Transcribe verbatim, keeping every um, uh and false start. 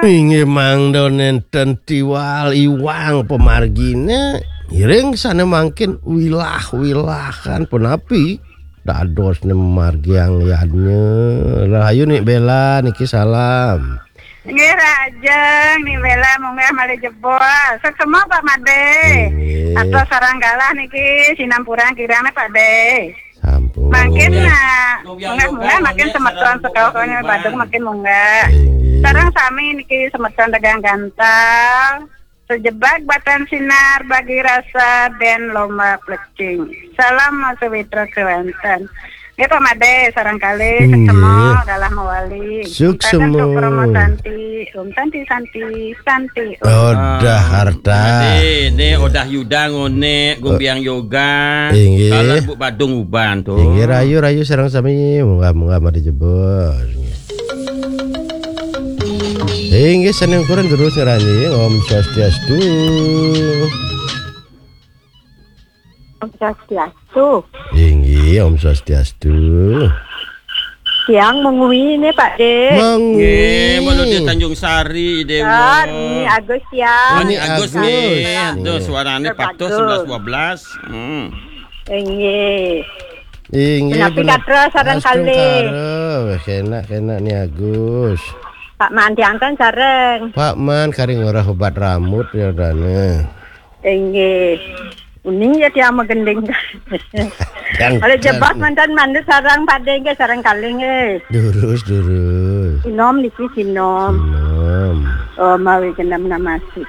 Inggih mangda nenten tiwal iwang pamargine, ngiring sane mangkin wilah-wilahan punapi dadosne margiang yadnya. Rahayu Ni Bela niki salam. Nggih, rahajeng, Ni Bela munggah malih jebos. Suksma, Pak Made. Inggih. Atos sareng galah niki sinampurang kirang, Pak De. Sampun. Mangkin, nah, munggah-munggah mangkin semeton sekauhane Badung mangkin munggah. Inggih. Sareng sami niki semeton dagang gantal. Sejebak batan sinar bagi rasa dan lomba plecing. Salam sawitra kewanten. Nggih, Pak Made, sareng kalih, suksma, galah mawali. Suksma. Santi, Om Santi, Santi, Santi, Om. Odah harta. Ade, ne Odah Yuda ngone, Gumbiang Yoga. Inggih. Kalah Bu Badung Uban tuh. Inggih, rayu, rayu sareng sami, munggah, munggah mari jebos. Inggih, sane ukuran terus ngeranjing. Om Swastiastu. Om Swastiastu. Inggih, Om Swastiastu. Tiang mengui ini, Pak De. Mengui. Nggih, Mbok Lode Tanjung Sari, Dewa. Ya, Ni Agus ya. Ni Agus, Agus. Nggih. Aduh, suarane patuh sebelas dua belas. Hmm. Inggih. Inggih, punapi katra sareng kalih? Astungkara, wis enak-enak Ni Agus. Pak Man dianten sareng. Pak Man kari ngorah obat rambut ya dane. Inggih. Uning ya tiang magending. Oleh jebos mantan mandu sareng Pak De nggih sareng kalih nggih. Durus, durus. Sinom niki sinom. Sinom. Oh, mawi genep namasi.